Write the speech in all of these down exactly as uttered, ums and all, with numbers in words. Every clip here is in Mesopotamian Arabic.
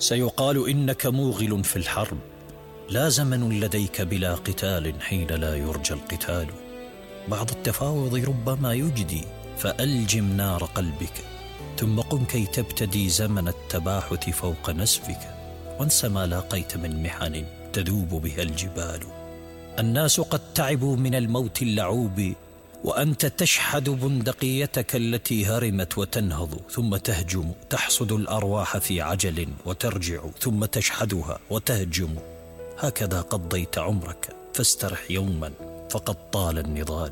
سيقال إنك موغل في الحرب، لا زمن لديك بلا قتال حين لا يرجى القتال. بعض التفاوض ربما يجدي، فألجم نار قلبك، ثم قم كي تبتدي زمن التباحث فوق نسفك، وانس ما لاقيت من محن تذوب بها الجبال. الناس قد تعبوا من الموت اللعوب، وأنت تشحذ بندقيتك التي هرمت وتنهض ثم تهجم، تحصد الأرواح في عجل وترجع ثم تشحذها وتهجم. هكذا قضيت عمرك، فاسترح يوما فقد طال النضال.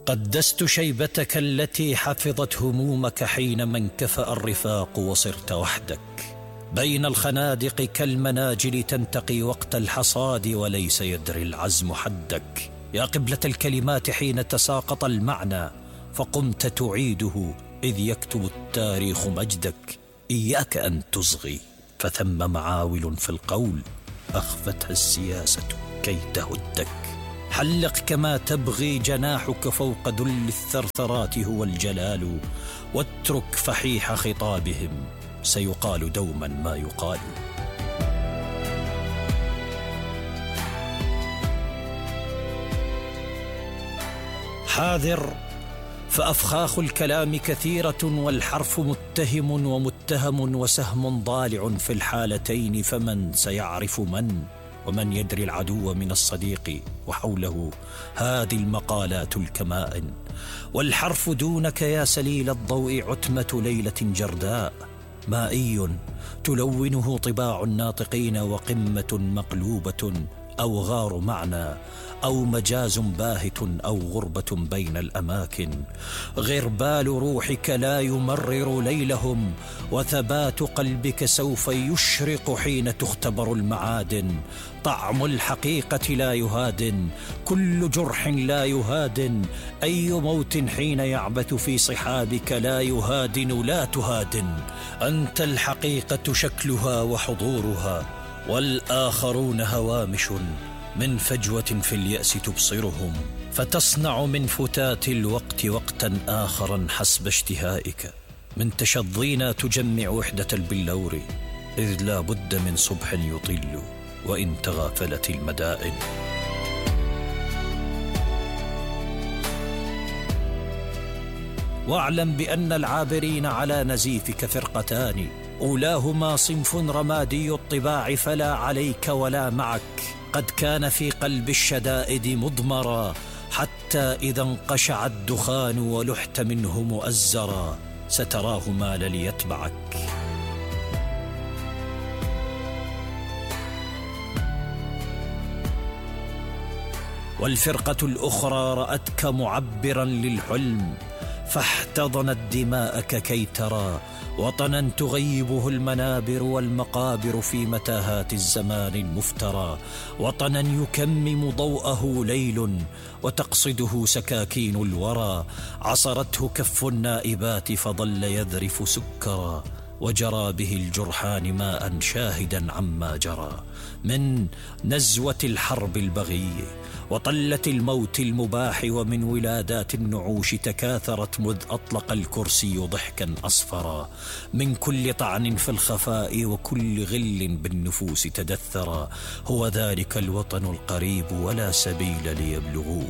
قدست شيبتك التي حفظت همومك حينما انكفأ الرفاق وصرت وحدك، بين الخنادق كالمناجل تنتقي وقت الحصاد وليس يدري العزم حدك. يا قبلة الكلمات حين تساقط المعنى فقمت تعيده إذ يكتب التاريخ مجدك. إياك أن تصغي فثم معاول في القول أخفتها السياسة كي تهدك. حلق كما تبغي، جناحك فوق ذل الثرثرات هو الجلال، واترك فحيح خطابهم سيقال دوما ما يقال. حاذر، فأفخاخ الكلام كثيرة والحرف متهم ومتهم وسهم ضالع في الحالتين، فمن سيعرف من، ومن يدري العدو من الصديق، وحوله هذه المقالات الكمائن. والحرف دونك يا سليل الضوء عتمة ليلة جرداء، مائي تلونه طباع الناطقين، وقمة مقلوبة أو غار معنى أو مجاز باهت أو غربة بين الأماكن. غربال روحك لا يمرر ليلهم، وثبات قلبك سوف يشرق حين تختبر المعادن. طعم الحقيقة لا يهادن، كل جرح لا يهادن، أي موت حين يعبث في صحابك لا يهادن لا تهادن. أنت الحقيقة شكلها وحضورها، والآخرون هوامش من فجوة في اليأس تبصرهم، فتصنع من فتات الوقت وقتا آخرا حسب اشتهائك. من تشظينا تجمع وحدة البلور، إذ لا بد من صبح يطل وإن تغافلت المدائن. واعلم بأن العابرين على نزيفك فرقتان، أولاهما صنف رمادي الطباع فلا عليك ولا معك، قد كان في قلب الشدائد مضمرا، حتى إذا انقشع الدخان ولحت منه مؤزرا، ستراه مال ليتبعك. والفرقة الأخرى رأتك معبرا للحلم، فاحتضنت دماءك كي ترى وطنا تغيبه المنابر والمقابر في متاهات الزمان المفترى، وطنا يكمم ضوءه ليل وتقصده سكاكين الورى، عصرته كف النائبات فظل يذرف سكرا، وجرى به الجرحان ماء شاهدا عما جرى من نزوة الحرب البغي وطلة الموت المباح، ومن ولادات النعوش تكاثرت مذ أطلق الكرسي ضحكا أصفرا، من كل طعن في الخفاء وكل غل بالنفوس تدثرا. هو ذلك الوطن القريب ولا سبيل ليبلغوه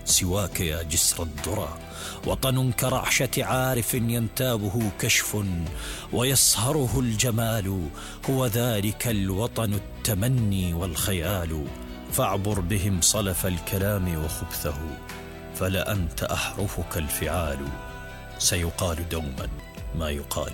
سواك يا جسر الذرى، وطن كرعشة عارف ينتابه كشف ويصهره الجمال. هو ذلك الوطن التمني والخيال، فاعبر بهم صلف الكلام وخبثه، فلأنت أحرفك الفعال، سيقال دوما ما يقال.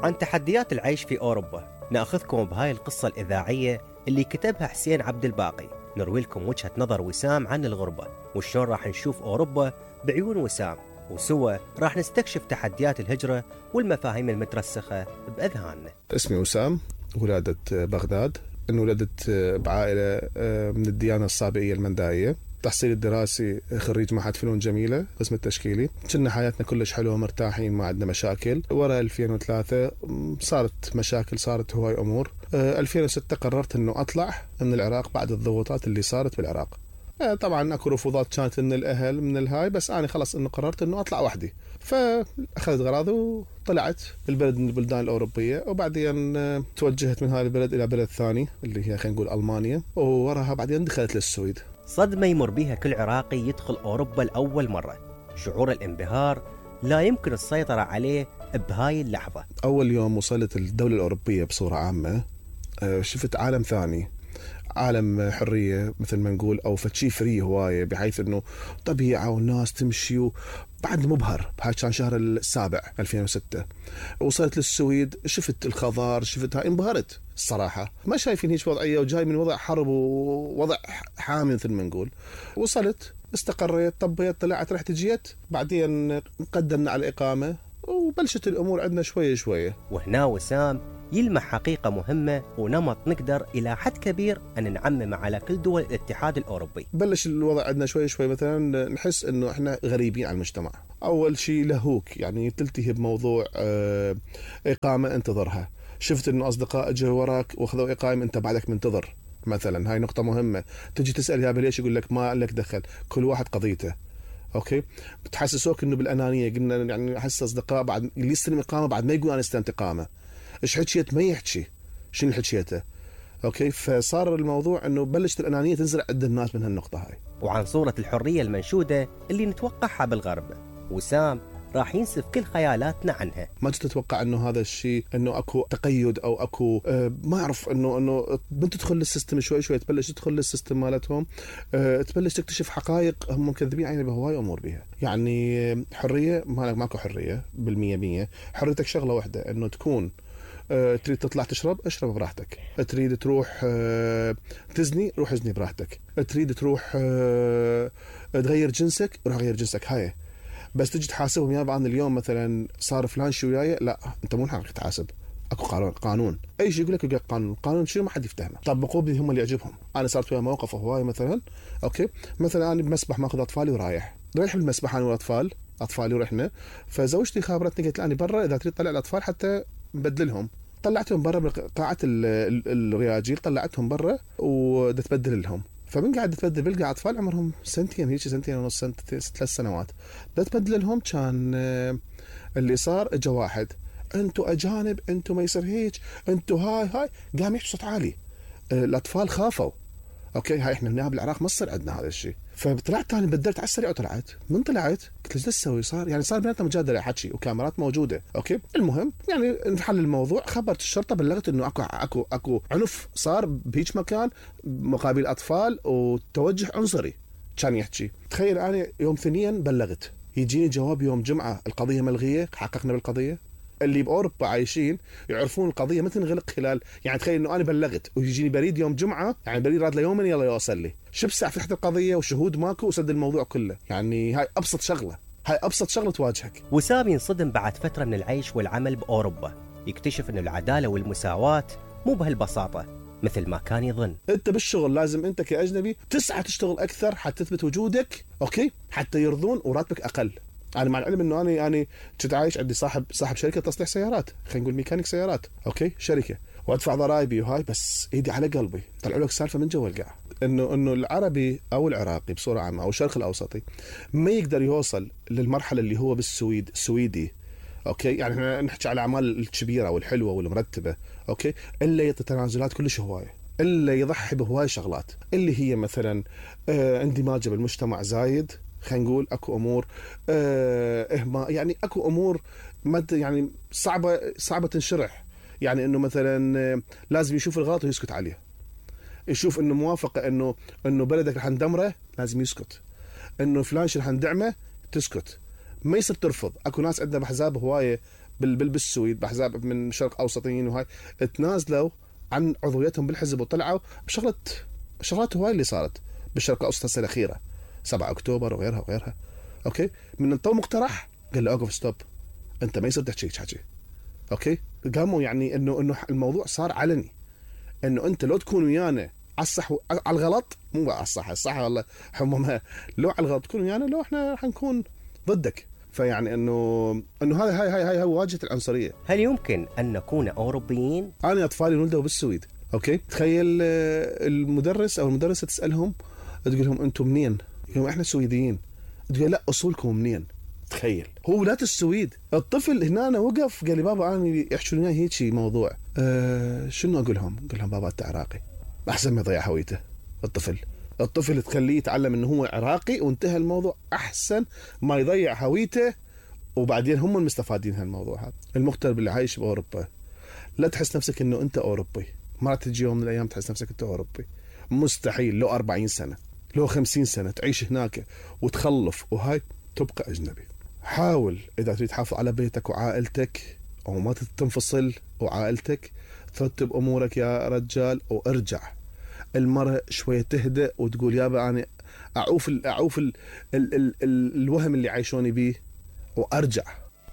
عن تحديات العيش في أوروبا نأخذكم بهاي القصة الإذاعية اللي كتبها حسين عبد الباقي، نروي لكم وجهة نظر وسام عن الغربة وشلون راح نشوف أوروبا بعيون وسام، وسوا راح نستكشف تحديات الهجرة والمفاهيم المترسخة بأذهاننا. اسمي وسام، ولادة بغداد، انولدت بعائلة من الديانة الصابئية المندائية. تحصيل الدراسي خريج معهد فنون جميلة قسم التشكيلي. كنا حياتنا كلش حلوة مرتاحين ما عندنا مشاكل. ورا ألفين وثلاثة صارت مشاكل، صارت هواي أمور. ألفين وستة قررت أنه أطلع من العراق بعد الضغوطات اللي صارت بالعراق. طبعا أكو رفوضات كانت من الأهل من الهاي، بس أنا خلص أنه قررت أنه أطلع وحدي. فأخذت غراضي وطلعت البلد من البلدان الأوروبية، وبعدين توجهت من هذا البلد إلى بلد ثاني اللي هي خلينا نقول ألمانيا، ووراها بعدين دخلت للسويد. صدمة يمر بها كل عراقي يدخل أوروبا لأول مرة، شعور الانبهار لا يمكن السيطرة عليه بهاي اللحظة. أول يوم وصلت الدولة الأوروبية بصورة عامة شفت عالم ثاني، عالم حرية مثل ما نقول، أو فتشي فري هواية، بحيث أنه طبيعة والناس تمشي. وبعد مبهر بهاي كان شهر السابع ألفين وستة. وصلت للسويد شفت الخضار، شفت هاي، انبهرت الصراحة. ما شايفين هيك وضعية، وجاي من وضع حرب ووضع حامي مثل ما نقول. وصلت استقريت، طبيت، طلعت، رحت جيت، بعدين قدمنا على الإقامة وبلشت الأمور عندنا شوية شوية. وهنا وسام يلمح حقيقة مهمة ونمط نقدر إلى حد كبير أن نعمم على كل دول الاتحاد الأوروبي. بلش الوضع عندنا شوي شوي، مثلا نحس أنه إحنا غريبين على المجتمع. أول شيء لهوك، يعني تلتهي بموضوع إقامة انتظرها. شفت أنه أصدقاء جاء وراك وأخذوا إقامة، أنت بعدك منتظر مثلا. هاي نقطة مهمة. تجي تسأل يا ليش، يقول لك ما لك دخل، كل واحد قضيته. اوكي، بتحسسوك انه بالانانيه. قلنا يعني احس اصدقاء بعد اللي يستلم اقامه بعد ما يقول انا استلمت اقامه، ايش حكيت، ما يحكي شنو حكيته. اوكي، فصار الموضوع انه بلشت الانانيه تنزرع عند الناس من هالنقطه هاي. وعن صوره الحريه المنشوده اللي نتوقعها بالغرب، وسام راح ينسف كل خيالاتنا عنها. ما تتوقع انه هذا الشيء، انه اكو تقيد او اكو أه ما اعرف، انه انه بنت تدخل للسيستم شوي شوي، تبلش تدخل للسيستم مالتهم، أه تبلش تكتشف حقائق هم مكذبين علينا بهواي امور بها. يعني حريه، مالك ماكو حريه بالمية مية. حريتك شغله واحده، انه تكون أه تريد تطلع تشرب، اشرب براحتك. تريد تروح أه تزني، روح ازني براحتك. تريد تروح أه تغير جنسك، روح غير جنسك. هاي بس تجي تحاسبهم يا بعض اليوم مثلا صار فلان شو وياي، لا انت مو حقك تحاسب. اكو قانون، قانون اي شيء يقول لك يقول قانون. القانون شنو ما حد يفتهمه. طبقوا به هم اللي يعجبهم. انا صارت ويا موقف هواي مثلا. اوكي، مثلا انا بمسبح ماخذ اطفالي ورايح رايح بالمسبح انا والاطفال، اطفالي ورحنا. فزوجتي خابرتني قالت لي برا اذا تريد تطلع الاطفال حتى نبدلهم. طلعتهم برا بقاعه الرياجيل، طلعتهم برا ودت تبدل لهم. فمن قاعد تبدل بلقى اطفال عمرهم سنتين، هيك سنتين ونص، سنتين، ثلاث سنوات. بدأت تبدل لهم. كان اللي صار اجى واحد، انتوا اجانب، انتوا ما يصير هيك، انتوا هاي هاي، قام يحكي صوت عالي. الاطفال خافوا. اوكي، هاي احنا هنا بالعراق ما صار عندنا هذا الشيء. فطلعت ثاني بدلت على السريع وطلعت. من طلعت قلت ايش تسوي؟ صار يعني صار بيناتنا مجادله، حكي وكاميرات موجوده. اوكي، المهم يعني نحل الموضوع. خبرت الشرطه، بلغت انه اكو اكو اكو عنف صار بهيج مكان مقابل اطفال وتوجه عنصري كان يحكي. تخيل انا يوم اثنين بلغت، يجيني جواب يوم جمعه القضيه ملغيه، حققنا بالقضيه. اللي بأوروبا عايشين يعرفون القضية ما تنغلق خلال، يعني تخيل إنه أنا بلغت ويجيني بريد يوم جمعة، يعني بريد راد ليومين يلا يوصل لي، شو بساعة فتحت القضية وشهود ماكو وسد الموضوع كله. يعني هاي أبسط شغلة، هاي أبسط شغلة تواجهك. وسام ينصدم بعد فترة من العيش والعمل بأوروبا، يكتشف إنه العدالة والمساواة مو بهالبساطة مثل ما كان يظن. انت بالشغل لازم انت كأجنبي تسعى تشتغل أكثر حتى تثبت وجودك، أوكي، حتى يرضون وراتبك أقل. أنا مع العلم إنه أنا أنا كنت عايش عندي صاحب صاحب شركة تصليح سيارات، خلينا نقول ميكانيك سيارات، أوكي، شركة، وأدفع ضرائبي وهاي، بس إيدي على قلبي. طلعوا لك سالفة من جوا القاع، إنه إنه العربي أو العراقي بصورة عامة أو الشرق الأوسطي ما يقدر يوصل للمرحلة اللي هو بالسويد السويدي، أوكي، يعني إحنا نحكي على الأعمال الكبيرة والحلوة والمرتبة، أوكي، إلا يعطي تنازلات كلش هواية، إلا يضحي بهواي شغلات اللي هي مثلا آه اندماجه بالمجتمع زايد. خلينا نقول اكو امور اه ما يعني اكو امور ما يعني صعبه صعبه تنشرح. يعني انه مثلا لازم يشوف الغلط ويسكت عليه، يشوف انه موافقه انه انه بلدك رح ندمره لازم يسكت، انه فلان شو رح ندعمه تسكت، ما يصير ترفض. اكو ناس عندنا باحزاب هوايه بالسويد، باحزاب من شرق اوسطيين وهاي، تنازلوا عن عضويتهم بالحزب وطلعوا بشغله شغلات هواي اللي صارت بالشرق الاوسط السنه الاخيره، سبعة أكتوبر وغيرها وغيرها. أوكي، من الطو مقترح قال له أوقف ستوب، أنت ما يصير تحكي حكي. أوكي، قاموا يعني إنه إنه الموضوع صار علني، إنه أنت لو تكون ويانا على الصح على الغلط، مو على الصح، الصح والله هم لو على الغلط تكون يعني لو احنا حنكون ضدك. فيعني انه انه هذا هاي هاي هاي واجهة العنصرية. هل يمكن ان نكون اوروبيين؟ انا اطفالي ولدوا بالسويد، اوكي، تخيل المدرس او المدرسة تسألهم تقول لهم انتم منين؟ يقولون احنا سويديين. تقول لا اصولكم منين؟ تخيل، هو ولاة السويد. الطفل هنا أنا وقف قال لي بابا انا يحشون هيك موضوع، أه شنو اقول لهم؟ قال لهم بابا انت عراقي. احسن ما يضيع هويته الطفل. الطفل تخليه يتعلم انه هو عراقي وانتهى الموضوع، احسن ما يضيع هويته وبعدين هم المستفادين هالموضوع هذا. المغترب اللي عايش باوروبا لا تحس نفسك انه انت اوروبي، ما تجي يوم من الايام تحس نفسك انت اوروبي، مستحيل. لو أربعين سنة لو خمسين سنة تعيش هناك وتخلف وهاي تبقى اجنبي. حاول اذا تريد تحافظ على بيتك وعائلتك او ما تنفصل وعائلتك، ترتب امورك يا رجال وارجع. المرة شوية تهدأ وتقول يابا أنا أعوف ال أعوف ال ال ال ال الوهم اللي عايشوني بيه وأرجع.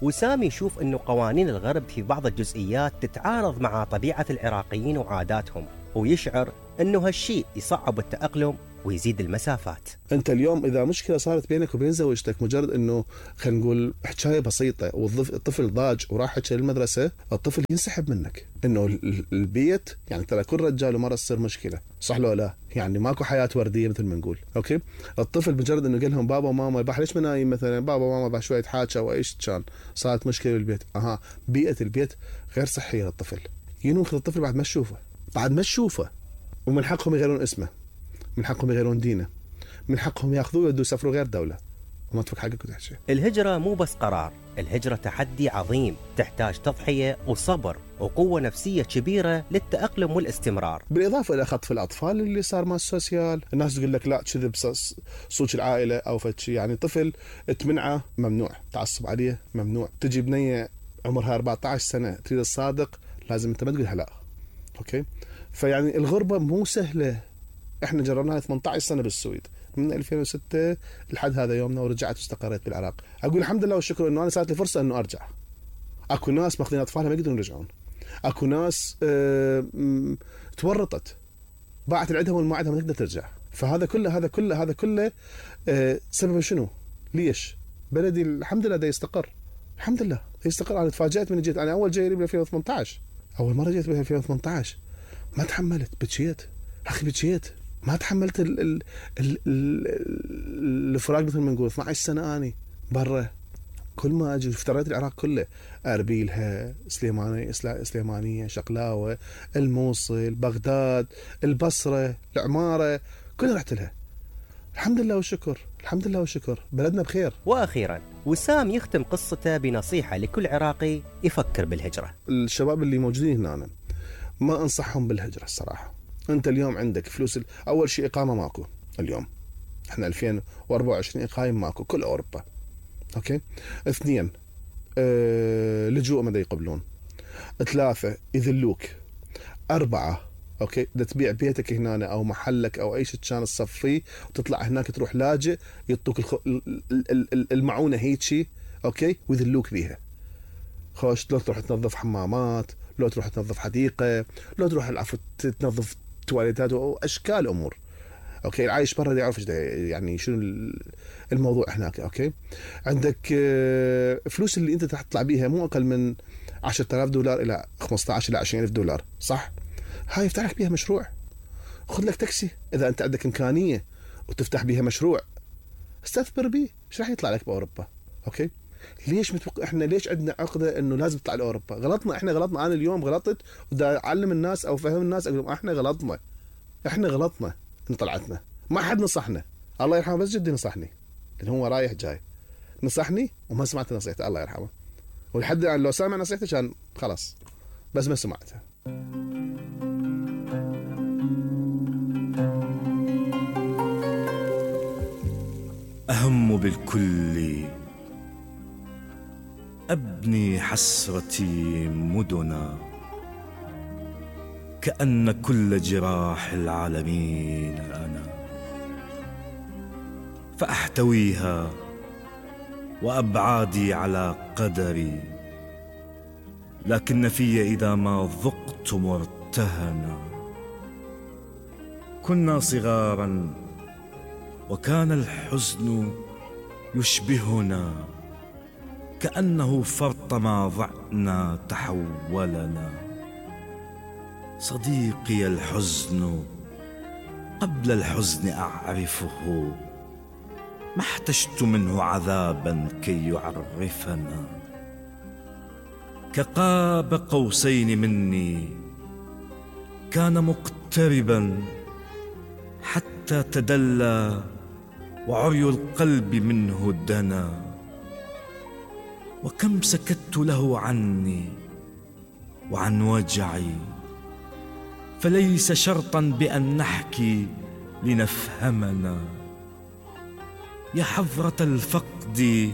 وسام يشوف أنه قوانين الغرب في بعض الجزئيات تتعارض مع طبيعة العراقيين وعاداتهم، ويشعر أنه هالشيء يصعب التأقلم ويزيد المسافات. أنت اليوم إذا مشكلة صارت بينك وبين زوجتك، مجرد أنه خلينا نقول حكاية بسيطة والطفل ضاج وراح حكي للمدرسة، الطفل ينسحب منك. أنه البيت يعني ترى كل رجال ومرة تصير مشكلة، صح لو لا؟ يعني ماكو حياة وردية مثل ما نقول. أوكي، الطفل مجرد أنه قال لهم بابا وماما بح ليش منايم مثلا، بابا وماما بح شوية حاجة وإيش كان صارت مشكلة بالبيت. أها، بيئة البيت غير صحية للطفل. ينوخذ الطفل بعد ما تشوفه بعد ما تشوفه ومن حقهم يغيرون اسمه، من حقهم يغيرون دينه، من حقهم ياخذوه ويدوا يسافروا غير دولة وما تفك حقك وتحكي. الهجرة مو بس قرار، الهجرة تحدي عظيم تحتاج تضحية وصبر وقوة نفسية كبيرة للتأقلم والاستمرار. بالإضافة إلى خطف الأطفال اللي صار مع السوسيال، الناس تقول لك لا كذب صوت العائلة أو فتشي. يعني طفل تمنعه ممنوع، تعصب عليه ممنوع. تجي بنية عمرها أربعة عشر سنة تريد الصادق، لازم أنت ما تقول هلا. أوكي، فيعني الغربة مو سهلة. احنا جربناها ثمانية عشر سنة بالسويد من ألفين وستة لحد هذا يومنا، ورجعت واستقريت بالعراق. اقول الحمد لله والشكر انه انا صارت لي فرصة انه ارجع. اكو ناس ماخذين اطفالها ما يقدرون يرجعون، اكو ناس اه تورطت باعت العدها والموعدها ما تقدر ترجع. فهذا كله هذا كله هذا كله اه سبب شنو؟ ليش؟ بلدي الحمد لله دا يستقر، الحمد لله دا يستقر. انا تفاجأت من جيت، انا اول جاي ب ألفين وثمانية عشر، اول مرة جيت ب ألفين وثمانية عشر ما تحملت، بتشيت اخي بتشيت، ما تحملت ال ال ال ال الفراق مثل ما نقول. اثنعش سنة اني برا، كل ما اجي افتريت العراق كله، اربيلها، سليمانية سليمانية، شقلاوة، الموصل، بغداد، البصرة، العمارة، كلها رحت لها. الحمد لله والشكر، الحمد لله والشكر، بلدنا بخير. واخيرا وسام يختم قصته بنصيحة لكل عراقي يفكر بالهجرة. الشباب اللي موجودين هنا ما انصحهم بالهجرة الصراحة. انت اليوم عندك فلوس، اول شيء اقامه ماكو اليوم، احنا ألفين وأربعة وعشرين اقايم ماكو كل اوروبا. اوكي، اثنين اه لجوء ما يقبلون، ثلاثة يذلوك، أربعة اوكي دا تبيع بيتك هنا او محلك او اي شيء كان تصفيه وتطلع هناك تروح لاجئ، يعطوك الخ... المعونة هيك اوكي ويذلوك بيها. خوش لو تروح تنظف حمامات، لو تروح تنظف حديقة، لو تروح العفو تنظف تواليتات واشكال امور. اوكي، العايش برا يعرف ايش يعني شنو الموضوع هناك. اوكي، عندك فلوس اللي انت تطلع بيها مو اقل من عشرة آلاف دولار الى خمسة عشر الى عشرين ألف دولار، صح؟ هاي يفتح لك بيها مشروع، خذ لك تاكسي اذا انت عندك امكانيه وتفتح بيها مشروع، استثمر بيه. ايش راح يطلع لك باوروبا؟ اوكي، ليش متوقع احنا ليش عندنا عقده انه لازم تطلع لاوروبا؟ غلطنا، احنا غلطنا. انا اليوم غلطت ودا اعلم الناس او فهم الناس، اقول احنا غلطنا، احنا غلطنا ان طلعتنا، ما حد نصحنا. الله يرحمه بس جدي نصحني، لان هو رايح جاي نصحني وما سمعت نصيحته، الله يرحمه. ولحد الان لو سامع نصيحته كان خلاص، بس ما سمعتها. أهم بالكل أبني حسرتي مدنا، كأن كل جراح العالمين أنا، فأحتويها وأبعادي على قدري، لكن في إذا ما ذقت مرتهنا، كنا صغارا وكان الحزن يشبهنا، كأنه فرط ما ضعنا تحولنا. صديقي الحزن قبل الحزن أعرفه، ما احتجت منه عذابا كي يعرفنا. كقاب قوسين مني كان مقتربا حتى تدلى وعري القلب منه دنا. وكم سكت له عني وعن وجعي، فليس شرطا بأن نحكي لنفهمنا. يا حضرة الفقد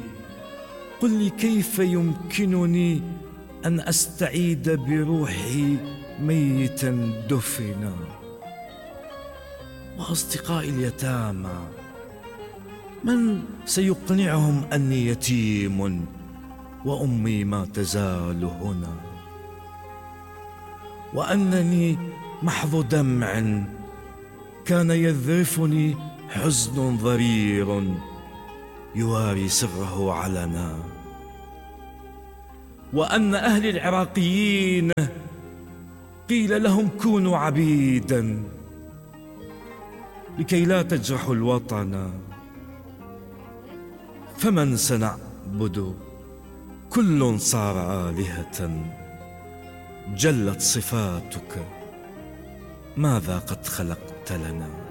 قل لي كيف يمكنني أن أستعيد بروحي ميتا دفنا. وأصدقائي اليتامى من سيقنعهم أني يتيم وأمي ما تزال هنا، وأنني محض دمع كان يذرفني حزن ضرير يواري سره علنا، وأن أهل العراقيين قيل لهم كونوا عبيدا لكي لا تجرحوا الوطن. فمن سنعبد؟ كل صار آلهة، جلت صفاتك، ماذا قد خلقت لنا؟